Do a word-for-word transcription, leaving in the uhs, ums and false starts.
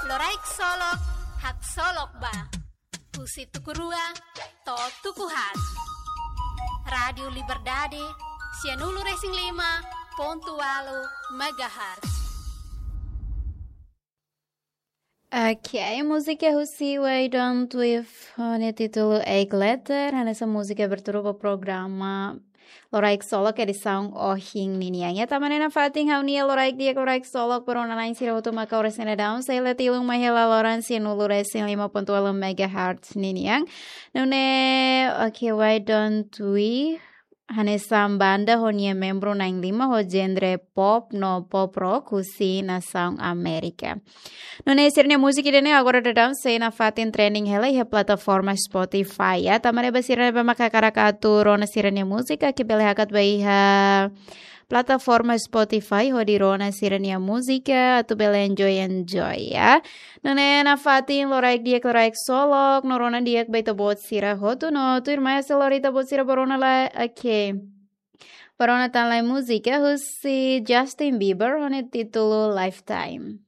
Loraik Solok, haksolok ba. Husi tuku rua to'o tuku haat. Rádiu Liberdade, sianulu-resin-lima pontu ualu megahertz. Ok, múzika husi Why Don't We ho nia títulu Egg Letter, hanesan múzika abertura ba programa Loraik Solok edisaun ohin ninian. Ya, tanba ne'e nafatin ha'u-nia loraik di'ak, loraik solok ba rona-na'in sira hotu maka oras ne'e daudaun, sei la tilun mai hela loron sianulu-resin-lima pontu ualu megahertz ninian. Nune'e, ok, Why Don't We hanesan banda ho nia membru na'in-lima ho genre pop no pop rock husi nasaun Amérika. Nune'e sira-nia múzika ida-ne'e agora daudaun sei nafatin trending hela iha plataforma Spotify, ya. Tanba ne'e ba sira ne'ebé maka hakarak atu rona sira-nia múzika, ke bele hakat ba iha plataforma Spotify hodi rona sira-nia múzika atu bele enjoy, enjoy, ya. Nune'e nafatin loraik di'ak, loraik solok no rona di'ak ba ita-boot sira hotu no tuirmai ha'u sei lori ita-boot sira ba rona lai, ok, ba rona tan lai múzika husi Justin Bieber ho nia títulu Lifetime.